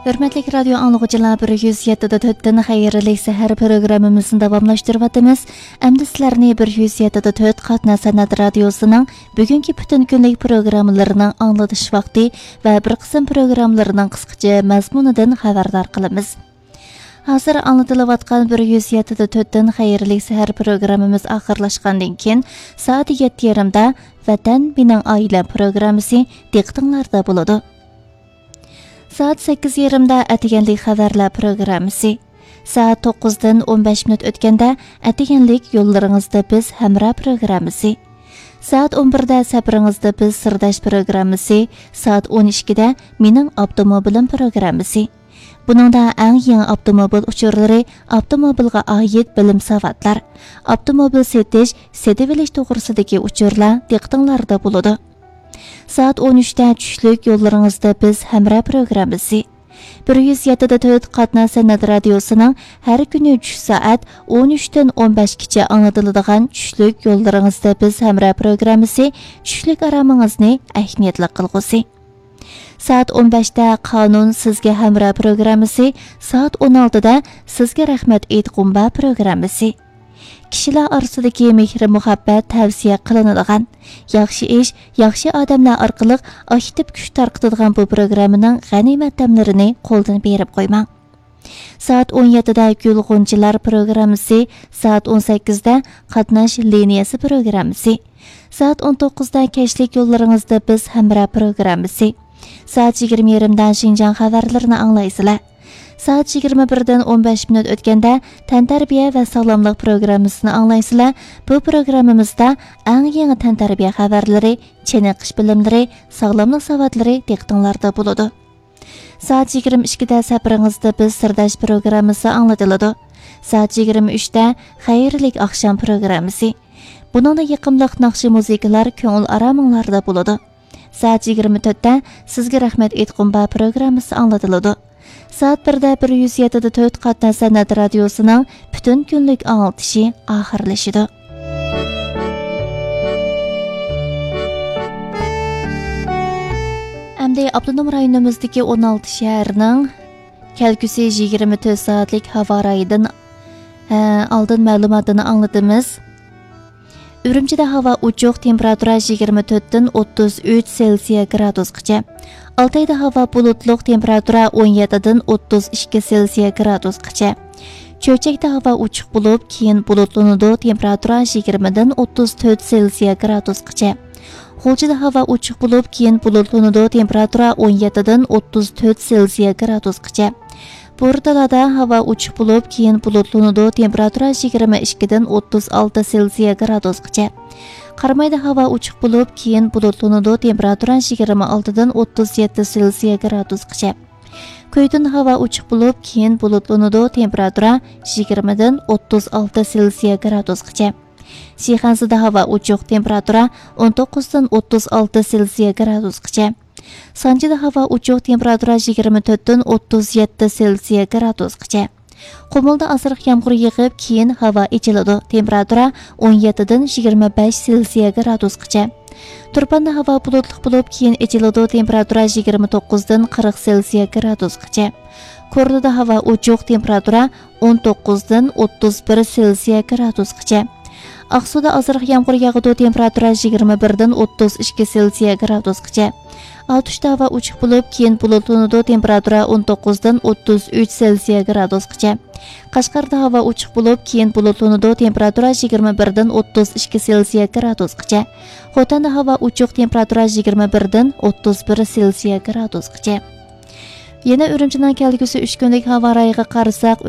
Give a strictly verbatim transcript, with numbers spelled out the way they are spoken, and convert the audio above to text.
ھۆرمەتلىك رادىيو ئاڭلىغۇچىلار، بىر يۈز يەتتە دە تۆتتىن خەيرلىك سەھەر پروگراممىمىزنى داۋاملاشتۇرۇۋاتىمىز. ئەمدى سىلەرنى بىر يۈز يەتتە دە تۆت قاتناش سەنئەت رادىيوسىنىڭ بۈگۈنكى پۈتۈن كۈنلۈك پروگراممىلىرىنىڭ ئاڭلىتىش ۋاقتى ۋە بىر قىسىم پروگراممىلىرىنىڭ قىسقىچە مەزمۇنىدىن خەۋەردار قىلىمىز. ھازىر ئاڭلىتىلىۋاتقان بىر يۈز يەتتە دە تۆتتىن خەيرلىك سەھەر پروگراممىمىز ئاخىرلاشقاندىن كېيىن، سائەت يەتتە يېرىمدا ۋەتەن مېنىڭ ئائىلەم پروگراممىسى دىققىتىڭلاردا بولىدۇ. سائەت سەككىز يېرىمدا ئەتىگەنلىك خەۋەرلەر پروگراممىسى. سائەت توققۇزدىن ئون بەش مىنۇت ئۆتكەندە، ئەتىگەنلىك يوللىرىڭىزدا بىز ھەمراھ پروگراممىسى. سائەت ئون بىردە سەپىرىڭىزدە بىز سىرداش پروگراممىسى، سائەت ئون ئىككىدە مېنىڭ ئاپتوموبىلىم پروگراممىسى. بۇنىڭدا ئەڭ يېڭى ئاپتوموبىل ئۇچۇرلىرى، ئاپتوموبىلغا ئائىت بىلىم ساۋاتلار، ئاپتوموبىل سېتىش، سېتىۋېلىش توغرىسىدىكى ئۇچۇرلار دىققىتىڭلاردا بولىدۇ. سائەت ئون ئۈچتە چۈشلۈك يوللىرىڭىزدا بىز ھەمراھ پروگراممىسى. بىر يۈز يەتتە دە تۆت قاتناش سەنئەت رادىيوسىنىڭ ھەر كۈنى چۈش سائەت ئون ئۈچتىن ئون بەشكىچە ئاڭلىتىلىدىغان چۈشلۈك يوللىرىڭىزدا بىز ھەمراھ پروگراممىسى چۈشلۈك ئارامىڭىزنى ئەھمىيەتلىك قىلغۇسى. سائەت ئون بەشتە قانۇن سىزگە ھەمراھ پروگراممىسى، سائەت ئون ئالتىدا سىزگە رەھمەت ئېيتقۇم بار پروگراممىسى. كىشىلەر ئارىسىدىكى مېھرى مۇھەببەت تەۋسىيە قىلىنىدىغان، ياخشى ئىش، ياخشى ئادەملەر ئارقىلىق ئاكتىپ كۈچ تارقىتىدىغان بۇ پروگراممىنىڭ غەنىيمەت دەملىرىنى قولدىن بېرىپ قويماڭ. سائەت ئون يەتتىدە گۈل غۇنچىلار پروگراممىسى، سائەت ئون سەككىزدە قاتناش لىنىيەسى پروگراممىسى، سائەت ئون توققۇزدا كەچلىك يوللىرىڭىزدا بىز ھەمراھ پروگراممىسى، سائەت يىگىرمە يېرىمدا شىنجاڭ خەۋەرلىرىنى ئاڭلايسىلەر. سائەت يىگىرمە بىردىن ئون بەش مىنۇت ئۆتكەندە تەنتەربىيە ۋە ساغلاملىق پروگراممىسىنى ئاڭلايسىلەر. بۇ پروگراممىمىزدا ئەڭ يېڭى تەنتەربىيە خەۋەرلىرى، چېنىقىش بىلىملىرى، ساغلاملىق ساۋاتلىرى دىققىتىڭلاردا بولىدۇ. سائەت يىگىرمە ئىككىدە سەپىرىڭىزدە بىز سىرداش پروگراممىسى ئاڭلىتىلىدۇ. سائەت يىگىرمە ئۈچتە خەيرلىك ئاخشام پروگراممىسى. بۇنىڭدا يېقىملىق ناخشا مۇزىكىلار كۆڭۈل ئارامىڭلاردا بولىدۇ. سائەت يىگىرمە تۆتتە سىزگە رەھمەت ئېيتقۇم بار پروگراممىسى ئاڭلىتىلىدۇ. سائەت بىردە بىر يۈز يەتتە دە تۆت قاتناش سەنئەت رادىيوسىنىڭ پۈتۈن كۈنلۈك ئاڭلىتىشى ئاخىرلىشىدۇ. ئەمدى ئاپتونوم رايونىمىزدىكى ئون ئالتە شەھەرنىڭ كەلگۈسى يىگىرمە تۆت سائەتلىك ھاۋا رايىدىن، ھە، ئالدىن مەلۇماتىنى ئاڭلىتىمىز. ئۈرۈمچىدە ھاۋا ئوچۇق، تېمپېراتۇرا يىگىرمە تۆتتىن ئوتتۇز ئۈچ سېلسىيە گرادۇسقىچە. ئالتايدا ھاۋا بۇلۇتلۇق، تېمپېراتۇرا ئون يەتتىدىن ئوتتۇز ئىككى سېلسىيە گرادۇسقىچە. چۆچەكتە ھاۋا ئوچۇق بولۇپ، كېيىن بۇلۇتلىنىدۇ، تېمپېراتۇرا يىگىرمىدىن ئوتتۇز تۆت سېلسىيە گرادۇسقىچە. غۇلجىدا ھاۋا ئوچۇق بولۇپ، كېيىن بۇلۇتلىنىدۇ، تېمپېراتۇرا ئون يەتتىدىن ئوتتۇز تۆت سېلسىيە گرادۇسقىچە. بورتالادا ھاۋا ئوچۇق بولۇپ، كېيىن بۇلۇتلىنىدۇ، تېمپېراتۇرا يىگىرمە ئىككىدىن ئوتتۇز ئالتە سېلسىيە گرادۇسقىچە. قارامايدا ھاۋا ئوچۇق بولۇپ، كېيىن بۇلۇتلىنىدۇ، تېمپېراتۇرا يىگىرمە ئالتىدىن ئوتتۇز يەتتە سېلسىيە گرادۇسقىچە. كۈيتۇندا ھاۋا ئوچۇق بولۇپ، كېيىن بۇلۇتلىنىدۇ، تېمپېراتۇرا يىگىرمىدىن ئوتتۇز ئالتە سېلسىيە گرادۇسقىچە. شىخەنزىدە ھاۋا ئوچۇق، تېمپېراتۇرا ئون توققۇزدىن ئوتتۇز ئالتە سېلسىيە گرادۇسقىچە. سانجىدا ھاۋا ئوچۇق، تېمپېراتۇرا يىگىرمە تۆتتىن ئوتتۇز يەتتە سېلسىيە گرادۇسقىچە. قۇمۇلدا ئازراق يامغۇر يېغىپ، كېيىن ھاۋا ئېچىلىدۇ، تېمپېراتۇرا ئون يەتتىدىن يىگىرمە بەش سېلسىيە گرادۇسقىچە. تۇرپاندا ھاۋا بۇلۇتلۇق بولۇپ، كېيىن ئېچىلىدۇ، تېمپېراتۇرا يىگىرمە توققۇزدىن قىرىق سېلسىيە گرادۇسقىچە. كورلىدا ھاۋا ئوچۇق، تېمپېراتۇرا ئون توققۇزدىن ئوتتۇز بىر سېلسىيە گرادۇسقىچە. ئاقسۇدا ئازراق يامغۇر ياغىدۇ، تېمپېراتۇرا يىگىرمە بىردىن ئوتتۇز ئىككى سېلسىيە گرادۇسقىچە. ئاتۇشتا ھاۋا ئوچۇق بولۇپ، كېيىن بۇلۇتلىنىدۇ، تېمپېراتۇرا ئون توققۇزدىن ئوتتۇز ئۈچ سېلسىيە گرادۇسقىچە. قەشقەردە ھاۋا ئوچۇق بولۇپ، كېيىن بۇلۇتلىنىدۇ، تېمپېراتۇرا يىگىرمە بىردىن ئوتتۇز ئىككى سېلسىيە گرادۇسقىچە. خوتەندە ھاۋا ئوچۇق، تېمپېراتۇرا يىگىرمە بىردىن ئوتتۇز بىر سېلسىيە گرادۇسقىچە. يەنە ئۈرۈمچىنىڭ كەلگۈسى ئۈچ كۈنلۈك ھاۋا رايىغا قارىساق،